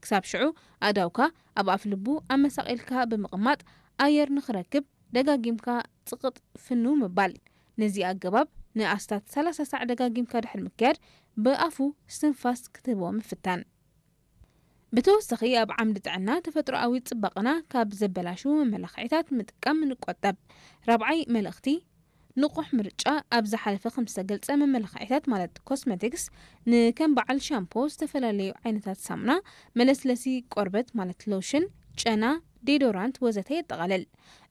ክሳብ ሽዑ ኣእዳውካ ኣብ ኣፍልቡ ኣመሳቒልካ ብምቕማጥ ኣየር ንኽረክብ ደጋጊምካ ጽቕጥ ፍንው ምባል። ነዚ ኣገባብ ንኣስታት ሰላሳ ሳዕ ደጋጊምካ ድሕሪ ምክያድ ብኣፉ እስትንፋስ ክትህቦ ምፍታን። ብተወሳኺ ኣብ ዓምዲ ጥዕና ተፈጥሮኣዊ ጽባቐና ካብ ዘበላሽዉ መመላኽዒታት ምጥቃም ንቆጠብ። ራብዓይ መልእኽቲ ንቑሕ ምርጫ። ኣብ ዝሓለፈ ከም ዝተገልጸ መመላኽዒታት ማለት ኮስመቲክስ ንከም በዓል ሻምፖ፣ ዝተፈላለዩ ዓይነታት ሳሙና፣ መለስለሲ ቆርበት ማለት ሎሽን፣ ጨና፣ ዴዶራንት ወዘተ የጠቓልል።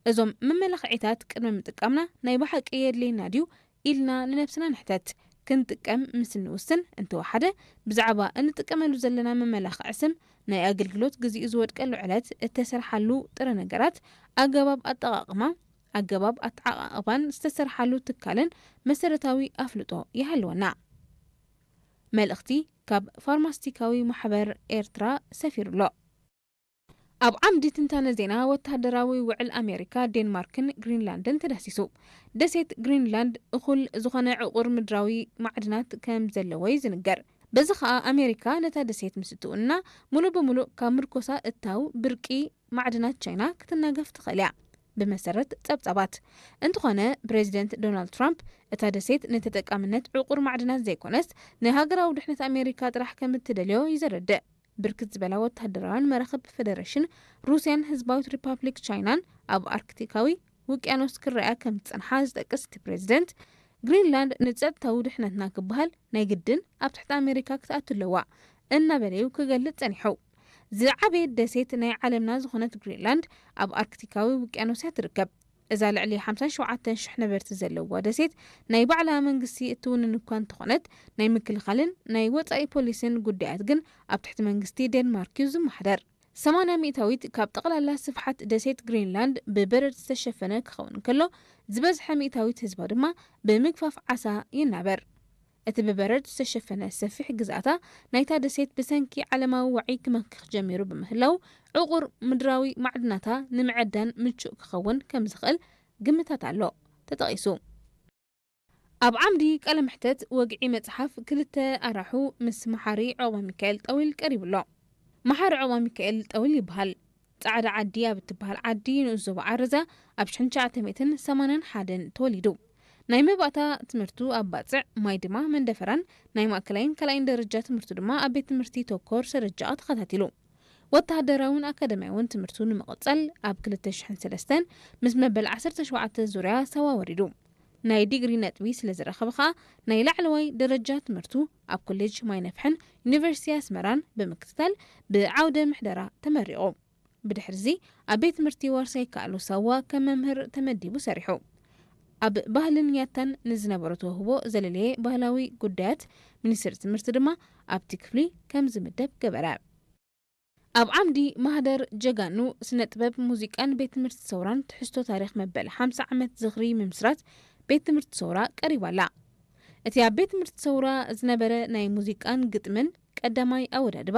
እዞም መመላኽዒታት ቅድሚ ምጥቃምና ናይ ብሓቂ የድልየና ድዩ ኢልና ንነብስና ንሕተት። ክንጥቀም ምስ እንውስን እንተወሓደ ብዛዕባ እንጥቀመሉ ዘለና መመላኽዒ ስም፣ ናይ ኣገልግሎት ግዚኡ ዝወድቀሉ ዕለት፣ እተሰርሓሉ ጥረ ነገራት፣ ኣገባብ ኣጠቓቕማ፣ ኣገባብ ኣተዓቓቕባን ዝተሰርሓሉ ትካልን መሰረታዊ ኣፍልጦ ይሃልወና። መልእኽቲ ካብ ፋርማስቲካዊ ማሕበር ኤርትራ ሰፊሩ ኣሎ። ኣብ ዓምዲ ትንታነ ዜና ወተሃደራዊ ውዕል ኣሜሪካ፣ ዴንማርክን ግሪንላንድን ተዳሲሱ። ደሴት ግሪንላንድ እኹል ዝኾነ ዕቑር ምድራዊ ማዕድናት ከም ዘለዎ እዩ ዝንገር። በዚ ኸኣ ኣሜሪካ ነታ ደሴት ምስ እትውንና ሙሉእ ብሙሉእ ካብ ምርኮሳ እታው ብርቂ ማዕድናት ቻይና ክትናገፍ ትኽእል እያ። ብመሰረት ጸብጻባት እንተኾነ ፕሬዚደንት ዶናልድ ትራምፕ እታ ደሴት ንተጠቃምነት ዕቑር ማዕድናት ዘይኮነስ ንሃገራዊ ድሕነት ኣሜሪካ ጥራሕ ከም እትደልዮ እዩ ዘረድእ። ብርክት ዝበላ ወተሃደራውያን መራኽብ ፈደረሽን ሩስያን ህዝባዊት ሪፓብሊክ ቻይናን ኣብ ኣርክቲካዊ ውቅያኖስ ክረኣያ ከም ዝጸንሓ ዝጠቅስ እቲ ፕሬዚደንት፣ ግሪንላንድ ንጸጥታዊ ድሕነትና ክበሃል ናይ ግድን ኣብ ትሕቲ ኣሜሪካ ክትኣቱ ኣለዋ እናበለዩ ክገልጽ ጸኒሑ። ዝዓበየት ደሴት ናይ ዓለምና ዝኾነት ግሪንላንድ ኣብ ኣርክቲካዊ ውቅያኖስ እያ ትርከብ። እዛ ልዕሊ ሓምሳን ሸውዓተን ሽሕ ነበርቲ ዘለዋ ደሴት ናይ ባዕላ መንግስቲ እትውንን እኳ እንተኾነት፣ ናይ ምክልኻልን ናይ ወጻኢ ፖሊሲን ጉዳያት ግን ኣብ ትሕቲ መንግስቲ ዴንማርክ እዩ ዝመሓደር። ሰማንያ ሚእታዊት ካብ ጠቕላላ ስፍሓት ደሴት ግሪንላንድ ብበረድ ዝተሸፈነ ክኸውን እንከሎ፣ ዝበዝሐ ሚእታዊት ህዝባ ድማ ብምግፋፍ ዓሳ ይናበር። እቲ ብበረድ ዝተሸፈነ ሰፊሕ ግዝኣታ ናይታ ደሴት ብሰንኪ ዓለማዊ ዋዒ ክመክኽ ጀሚሩ ብምህላው፣ ዕቑር ምድራዊ ማዕድናታ ንምዕዳን ምቹእ ክኸውን ከም ዝኽእል ግምታት ኣሎ ተጠቒሱ። ኣብ ዓምዲ ቃለ መሕተት ወግዒ መጽሓፍ ክልተ ኣራሑ ምስ መሓሪ ዑቕባሚካኤል ጠዊል ቀሪቡ ኣሎ። መሓሪ ዑቕባሚካኤል ጠዊል ይበሃል። ጻዕዳ ዓዲ ኣብ እትበሃል ዓዲ ንኡስ ዞባ ዓረዛ ኣብ ሽሕን ትሽዓተ ሚእትን ሰማንያን ሓደን ተወሊዱ። ናይ መባእታ ትምህርቱ ኣብ ባጽዕ፣ ማይ ድማ መንደፈራን፣ ናይ ማእከላይን ካልኣይን ደረጃ ትምህርቱ ድማ ኣብ ቤት ትምህርቲ ተኮር ሰረጃኣ ተኸታቲሉ። ወተሃደራውን ኣካዳሚያውን ትምህርቱ ንምቕጻል ኣብ ክልተ ሽሕን ሰለስተን ምስ መበል ዓሰርተ ሸውዓተ ዙርያ ሳዋ ወሪዱ። ናይ ዲግሪ ነጥቢ ስለ ዝረኸበ ኸኣ ናይ ላዕለዋይ ደረጃ ትምህርቱ ኣብ ኮሌጅ ማይነፍሕን ዩኒቨርሲቲ ኣስመራን ብምክትታል ብዓውደ ምሕደራ ተመሪቑ። ብድሕርዚ ኣብ ቤት ትምህርቲ ዋርሳይ ከኣሉ ሳዋ ከም መምህር ተመዲቡ ሰሪሑ። ኣብ ባህልን ያታን ንዝነበሮ ተውህቦ ዘለለየ ባህላዊ ጉዳያት ሚኒስትሪ ትምህርቲ ድማ ኣብቲ ክፍሊ ከም ዝምደብ ገበረ። ኣብ ዓምዲ ማህደር ጀጋኑ ስነ ጥበብ፣ ሙዚቃን ቤት ትምህርቲ ሰውራን ትሕዝቶ ታሪኽ መበል ሓምሳ ዓመት ዝኽሪ ምምስራት ቤት ትምህርቲ ሰውራ ቀሪባ ኣላ። እቲ ኣብ ቤት ትምህርቲ ሰውራ ዝነበረ ናይ ሙዚቃን ግጥምን ቀዳማይ ኣወዳድባ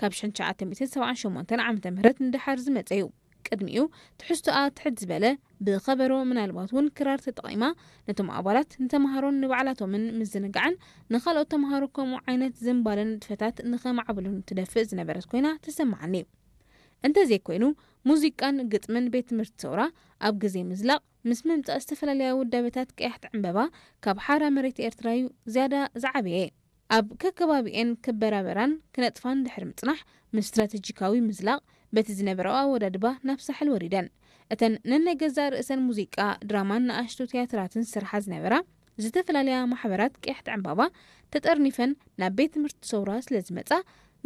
ካብ ሽሕን ትሽዓተ ሚእትን ሰብዓን ሸሞንተን ዓመተ ምህረት ንደሓር ዝመጸ እዩ። ቅድሚኡ ትሕዝቶኣ ትሕት ዝበለ ብኸበሮ ምናልባት እውን ክራር ተጠቒማ ነቶም ኣባላት ንተምሃሮን ንባዕላቶምን ምዝንጋዕን ንኻልኦት ተምሃሮ ከምኡ ዓይነት ዝንባለን ንጥፈታት ንኸማዕብሉን ትደፍእ ዝነበረት ኮይና ትሰምዓኒ። እንተዘይኮይኑ ሙዚቃን ግጥምን ቤት ትምህርቲ ሰውራ ኣብ ግዜ ምዝላቕ ምስ ምምጻእ ዝተፈላለያ ውዳበታት ቀያሕቲ ዕምበባ ካብ ሓራ መሬት ኤርትራ እዩ ዝያዳ ዝዓበየ። ኣብ ከከባቢኤን ክበራበራን ክነጥፋን ድሕሪ ምጽናሕ፣ ምስ ስትራተጂካዊ ምዝላቕ በቲ ዝነበረኦ ኣወዳድባ ናብ ሳሕል ወሪደን። እተን ነናይ ገዛእ ርእሰን ሙዚቃ፣ ድራማን ንኣሽቱ ትያትራትን ዝሰርሓ ዝነበራ ዝተፈላለያ ማሕበራት ቀያሕቲ ዕምባባ ተጠርኒፈን ናብ ቤት ትምህርቲ ሰውራ ስለ ዝመጻ፣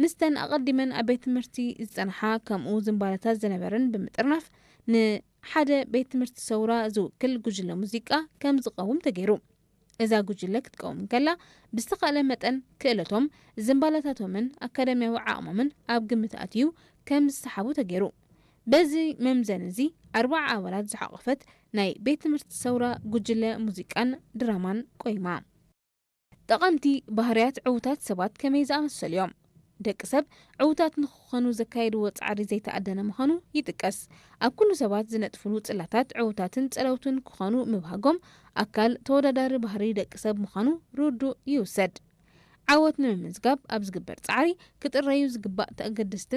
ምስተን ኣቐዲመን ኣብ ቤት ትምህርቲ ዝጸንሓ ከምኡ ዝንባለታት ዝነበረን ብምጥርናፍ ንሓደ ቤት ትምህርቲ ሰውራ ዝውክል ጉጅለ ሙዚቃ ከም ዝቐውም ተገይሩ። እዛ ጉጅለ ክትቀውም እንከላ ብዝተኻእለ መጠን ክእለቶም፣ ዝንባለታቶምን ኣካዳሚያዊ ዓቕሞምን ኣብ ግምት ኣትዩ ከም ዝሰሓቡ ተገይሩ። በዚ መምዘኒ እዚ ኣርባዓ ኣባላት ዝሓቖፈት ናይ ቤት ትምህርቲ ሰውራ ጉጅለ ሙዚቃን ድራማን ቆይማ። ጠቐምቲ ባህርያት ዕዉታት ሰባት ከመይ ዝኣመሰሉ እዮም? ደቂ ሰብ ዕዉታት ንኽኾኑ ዘካየድዎ ጻዕሪ ዘይተኣደነ ምዃኑ ይጥቀስ። ኣብ ኩሉ ሰባት ዝነጥፍሉ ጽላታት ዕዉታትን ጸለውትን ክኾኑ ምብሃጎም ኣካል ተወዳዳሪ ባህሪ ደቂ ሰብ ምዃኑ ርዱእ ይውሰድ። ዓወት ንምምዝጋብ ኣብ ዝግበር ጻዕሪ ክጥረዩ ዝግባእ ተገደስቲ